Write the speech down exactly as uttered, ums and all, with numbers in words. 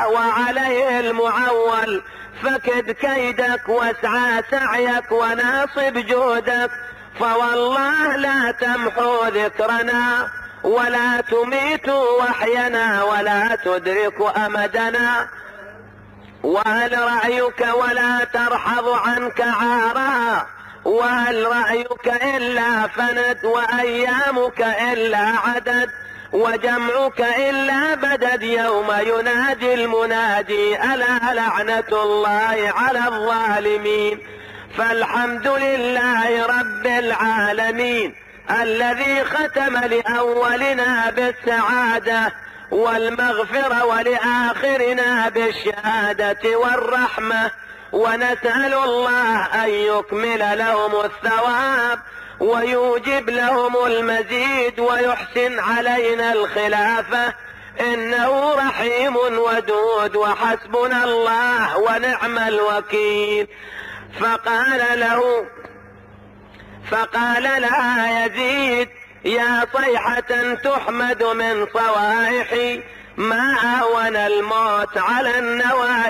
وعليه المعول، فكد كيدك واسعى سعيك وناصب جهدك، فوالله لا تمحو ذكرنا ولا تميت وحينا ولا تدرك أمدنا. وهل رأيك ولا ترحض عنك عارها، وهل رأيك إلا فند، وأيامك إلا عدد، وجمعك إلا بدد، يوم ينادي المنادي ألا لعنة الله على الظالمين. فالحمد لله رب العالمين الذي ختم لأولنا بالسعادة والمغفرة ولآخرنا بالشهادة والرحمة، ونسأل الله أن يكمل لهم الثواب ويوجب لهم المزيد ويحسن علينا الخلافة، إنه رحيم ودود وحسبنا الله ونعم الوكيل. فقال له فقال لها يزيد: يا صيحة تحمد من صوائحي، ما أهون الموت على النوايح.